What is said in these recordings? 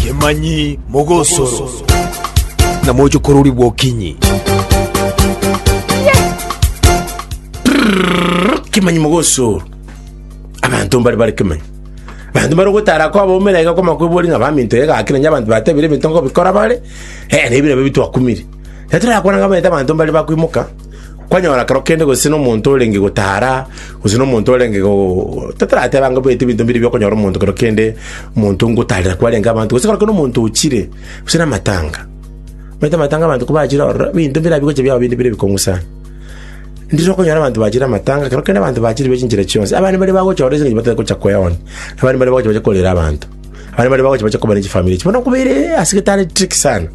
Kemanyi mogosoro na mochokorori bwokinyi. Kemanyi mogosoro. Abanto mbare bare kemanyi. Abanto mbare ogotara kwabo omera iga kwama kwebori ng'a baminto iga gaki nonye abanto batebire ebinto nkobikora bare, eh, na ebi nabio bitwakumire. Ekero torakwana ng'a omanyete abanto mbare bakoimoka, Kwanyora kero kende gose nomonto orenge gotara, gose nomonto orenge go totarateba ng'a bwete ebinto mbire biokonyora omonto kero kende omonto ngotarera kwarenge abanto, gose kero kende omonto ochire, gose na amatanga. Omanyete amatanga abanto kobachire ororo, ebinto mbire bigocha biaba binde bire ebikong'u sana. Ndire okonyora abanto bachire amatanga, kero kende abanto bachire be chinchera chionsi, abande mbare bagocha ororo ase eng'encho batari gocha koeonia, abande mbare bagocha bache korera abanto, abande mbare bagocha bache koba ne chifamiri echi. Bono nkobeire ase getare tricky sana.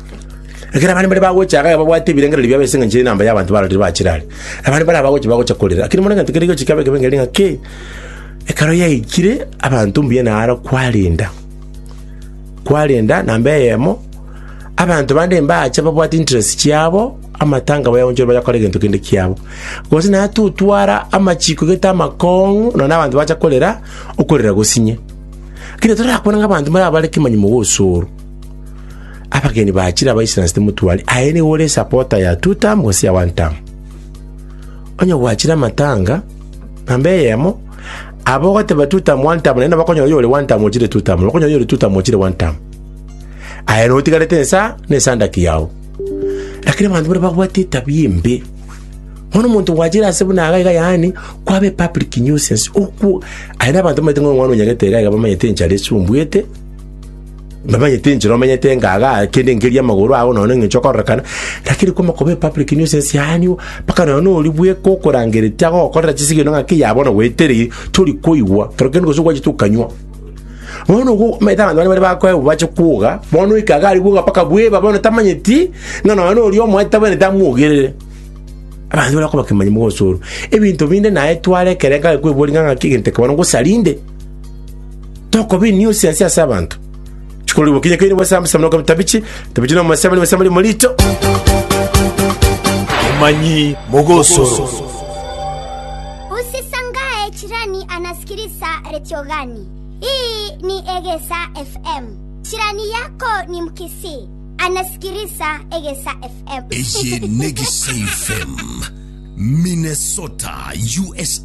Ekero abande baria bagocha iga babwate ebirengererio biabo ase engencho y'enamba y'abanto bararire bachire are. Abande baria abagocha bagocha korera. Lakini bono egento keria gochia kiaba ekebe nkeri ng'a ki, ekero yaikire abanto mbuya naro kwarenda, kwarenda namba eyemo, abanto bande mbache babwate interest chiabo, amatanga bayaonchore bayakore egento kende kiabo. Gose naye totwara amachiko gete amakong'u nonya abanto bacha korera, okorera gosinye. Lakini torakwane ng'a abanto mbare abare kemanyi mogosoro. Abageni bachire abaisiransete motware, aye nigo ore esapota ya two term gose ya one term. Onye gwachire amatanga namba eyemo, aba ogoteba two term one term naende bakonyora oyore one term ochire two term, bakonyora oyore two term ochire one term. Aye notigarete ensa na esandaki yao. Lakini abanto baria babwate etabia embe, bono omonto gwachire ase buna iga iga yaani kwaba epublic nuisance okwo aye na abanto bamaete ng'a omwana onyagete iga iga bamanyete enchara esumbwete. Mbamanyete enchera omenyete enga igaa, kende nkeria amagoro ao nonya eng'encho okororekana, lakini kwama koba epublic nuisance yaani mpaka nonya na oria bweka okorangeretie agogokorera chisigino ng'aki ya bono gwetereiri, tori koigwa, kero kende gose gwachete okanywa. Bono ogo omanyete abanto bande bare bakoegwa bache kwoga, bono oika iga aria bwoga mpaka bweba bono tamanyeti, ng'a nonya na oria omoete tabwenereti amwogerere. Abanto baria bakoba kemanyi mogosoro. Ebinto binde naye tware ekerengo aye kweboria ng'a ng'aki egento eke bono ngosarinde. Tokoba enuisance ase abanto. Chikorigwa kinya keire bwase amasa mnoka tabichi, tabichi no masema ni masema morito. Kemanyi mogosoro. Usisangae chirani anasikiliza retio gani. Hii ni Egesa FM. Chirani yako ni Mkisii, anasikiliza Egesa FM. Eye n'Egesa FM, Minnesota, USA.